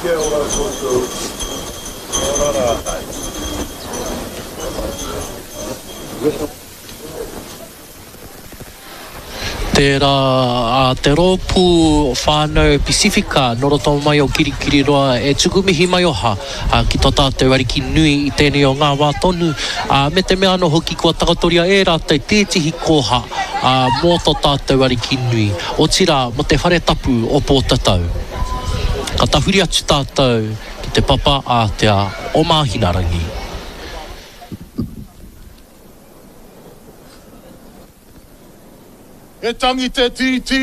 Kia ora koutou. Kia ora rā. Tērā a te rōpū whānau Pasifika nō roto mai o Kirikiriroa e tuku mihi maioha ki tō tātou Ariki nui i tēnei o ngā wā tonu, me te mea anō hoki kua takotoria e rātou tētehi koha mō tō tātou Ariki nui, otirā mō te whare tapu o Pōtatau. Ka tahuri atu tātou ki te papa ātea o Māhinarangi. He tangi te tītī,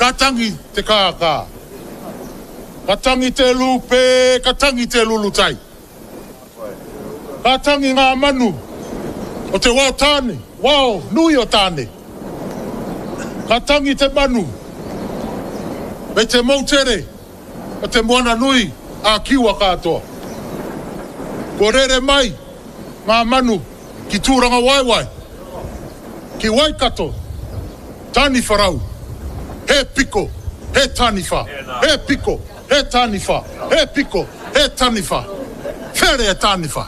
ka tangi te kākā. Ka tangi te lūpē, ka tangi te lulutai. Ka tangi ngā manu o te wao tāne, wao nui o Tāne. Ka tangi te manu me te moutere o te moana nui a Kiwa katoa. Kua rere mai ngā manu ki Tūrangawaewae, ki Waikato, Taniwharau, he piko, he taniwha, he piko, he taniwha, he piko, he taniwha, where e taniwha,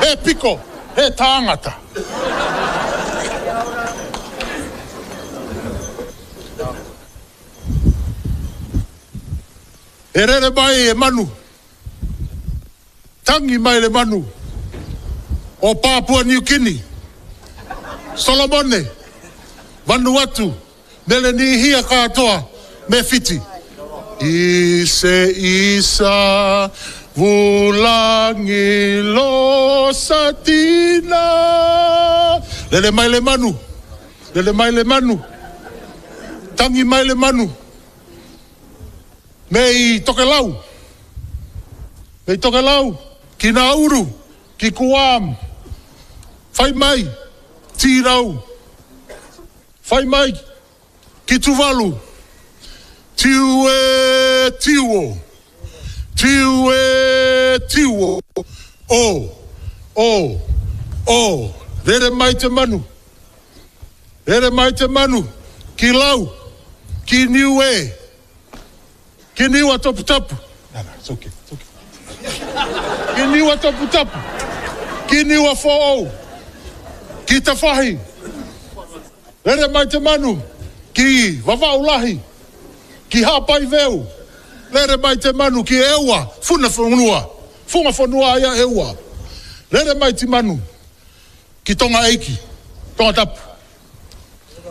he piko, he tāngata. E rere mai e manu. Tangi mai le manu o Papua New Guinea, Solomone, Vanuatu, Melenīhia katoa me Whiti. I se isa vulangi lo satina. Lele mai le manu, lele mai le manu, tangi mai le manu. Me i Tokelau, me i Tokelau, ki Nauru, ki Guam, whai mai, Tīrau, whai mai, ki Tuvalu, tiu e tiu o, tiu e tiu o, o, o, o, rere mai te manu, rere mai te manu, ki Lau, ki Niue, Ki Niwa Taputapu. No, no, it's okay, it's okay. Ki Niwa Taputapu. Ki Niwa Whāou. Ki Tawhahi. Rere mai te manu. Ki Vavaulahi. Ki Hāpai Veu. Rere mai te manu ki Eua, Funa whenua. Funga whenua ai a Eua. Rere mai ti manu. Ki Tonga Eiki. Tonga Tapu.